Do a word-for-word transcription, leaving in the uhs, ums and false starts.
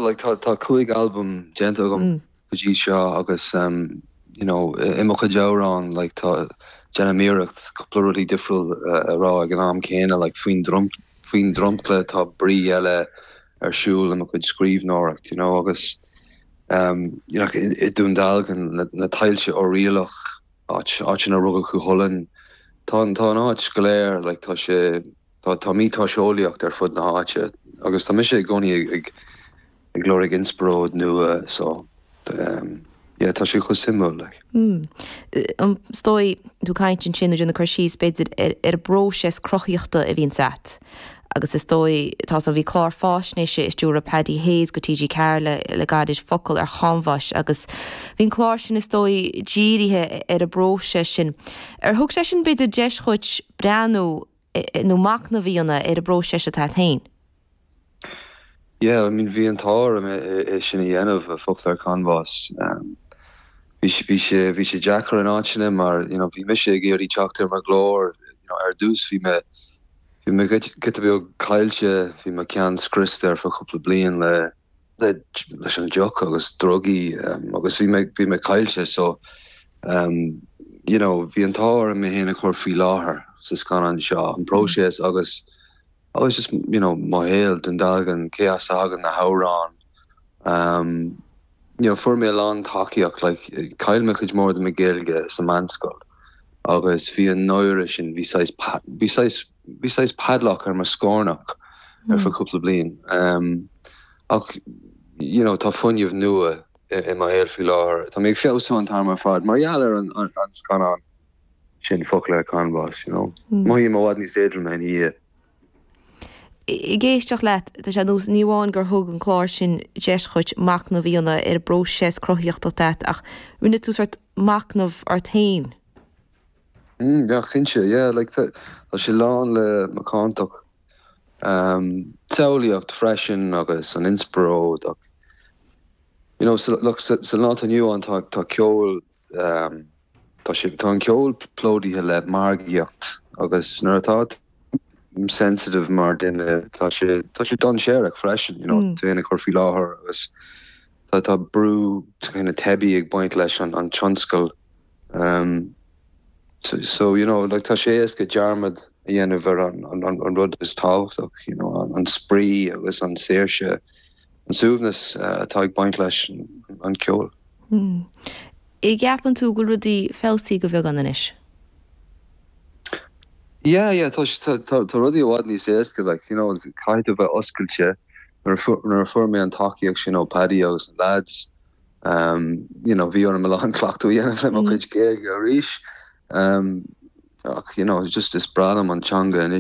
like tá tá cúig album déanta agam mm. go dtí seo agus um, you know i mo chuid amhrán like tá déanaim iarracht cúpla rudaí difriúil uh, a rá ag an am céanna like faoin drom faoin dromchla tá brí eile ar siúl i mo chuid scríbhneoireacht you know agus um, you know, i Dún Dealgan na, na tailte Oiriallach áit áit ina rugadh Cú Chulainn tá tá an áit go léir like tá sé tá tá miotaseolaíocht ar fud na háite agus tá mise i gcónaí ag ag ag lorg inspioráid nua so um, yeah, tá sé chomh suimiúil like. Mm. Um, Stoi tú caint sin na chur síos b'fhéidir ar ar bpróiseas cruthaíochta a bhíonn agat. agus is dóigh tá an bhí clár faisnéise a stiúir Paddy Hayes go TG Ceathair le le gairid focal ar chanbhás agus bhí'n clár sin is dóigh dírithe ar an bpróiseas sin. Ar thug sé sin b'fhéidir deis duit breathnú nó machnamh a dhéanamh ar an bpróiseas atá féin. Yeah, I mean bhí an t-ádh é sin a dhéanamh a focal ar canbhás. Um, bhí bhí sé bhí sé deacair in áiteanna mar you know, bhí mise ag iarraidh teacht ar mo ghlór you know, ar dtús bhí mé bhí mé giota beag caillte bhí mo cheann scriosta ar feadh cúpla bliain le le leis an deoch agus drugaí um, agus bhí mé bhí mé caillte so um, you know, bhí an t-ádh orm mé féin a chur faoi láthair sa scannán seo an próiseas agus agus just you know, mo shaol Dún Dealgan cé as a thagann na hamhráin um, you know, fuair mé lán tacaíocht like, chaill mé cuid mór de mo Ghaeilge sa meánscoil agus bhí an náire sin bhí bhí bhí saghas padlock ar mo scornach ar feadh cúpla bliain. Um, ach you know, tá fuinneamh nua i mo shaol faoi láthair. Tá mé ag feabhsú an t-am ar fad mar gheall ar an, an, an scannán sin focal ar canbhás, you know. Mm. Mothaím i bhfad níos éadroime ina dhiaidh. Ag éisteacht leat tá sé nós ní amháin gur thug an clár sin deis duit machnamh a dhéanamh ar bpróiseas cruthaíochta ach rinne tú sort machnamh ort féin. Mm, ja cinnte yeah, like, tá sé lán le macántacht um, samhlaíocht freisin agus an inspioráid ach you know, so, look, sa, sa lá inniu ann tá tá ceol um, tá sé tá an ceol plódaithe le margaíocht agus nuair atá sensitive mar duine tá sé tá sé dainséarach freisin you know, mm. tú ag cur faoi láthair agus tá tá brú ina teibí ag baint leis an an tionscal um, so, so you know like tá sé éasca dearmad a dhéanamh ar an, an, an, an rud is tábhachtach you know, an, an spraoi agus an saoirse an suaimhneas uh, atá ag baint leis an, an ceol. Mm. An gceapann tú go bhfuil rudaí feabhsaithe go beagán anois. Yeah, yeah, tá tá tá rudaí i bhfad níos éasca like, you know, caithfidh tú bheith oscailte nuair a fuair mé an tacaíocht sin ó Paddy agus an lads um, you know, bhí orm a lán cleachtadh a dhéanamh le mo chuid Gaeilge arís. Um, ach you know, just is breá liom an teanga anois